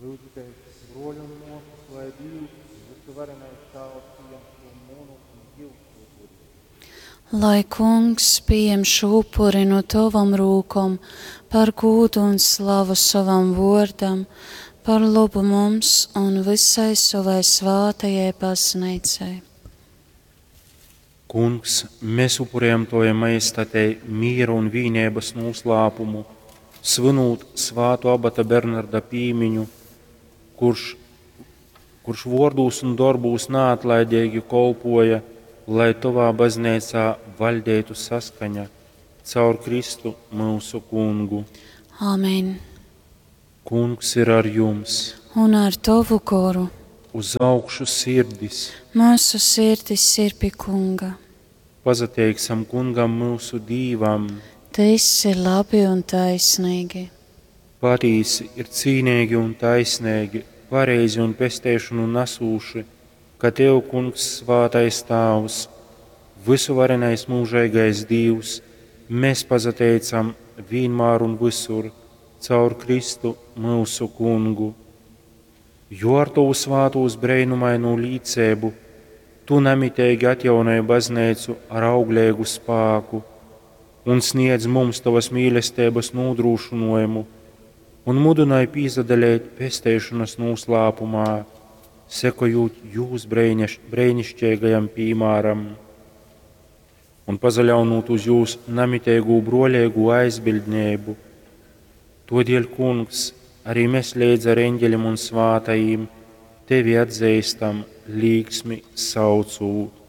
Lyudzitēs, bruoļi un muosys, lai Dīvs, vysuvarenais Tāvs, pījem šū munu un jyusu upuri. Lai Kungs pījem šū upuri nu tovom rūkom par gūdu un slavu sovam vuordam, par lobu mums un vysai sovai svātajai bazneicai. Kungs, mēs upurējam Tavai majestatei mīra un vīneibas nūslāpumu, svinūt svāto abata Bernarda pīmiņu, kurš vōrdūs un dorbūs naatlaideigi kolpoja, lai Tovā bazneicā vaļdeitu saskaņa caur Kristu myusu Kungu. Āmen. Kungs ir ar jums. Un ar tovu goru. Uz augšu sirdis. Mūsu sirdis ir pie Kunga. Pasateiksim Kungam myusu Dīvam. Tas ir labi un taisnīgi. Patīsi ir cīneigi un taisneigi, pareizi un pesteišonu nesūši, ka Tev, Kungs, svātais Tāvs, vysuvarenais mūžeigais Dīvs, mēs pasateicam vienmēr un visur caur Kristu myusu Kungu. Jo ar Tovu svātūs breinumaino līceibu Tu namiteigi atjaunoji baznīcu ar augļīgu spāku un sniedz mums Tavas mīlestības nodrošinājumu un mudināji pīsadalīt pesteišanas noslēpumā, sekojot jūs brēnišķīgajam piemēram un pazaļaunot uz jūs namiteigū broļīgu aizbildnību. Todēļ, Kungs, arī mēs līdz ar eņģeļiem un svātajiem tevi atzīstam, līksmi saucūt.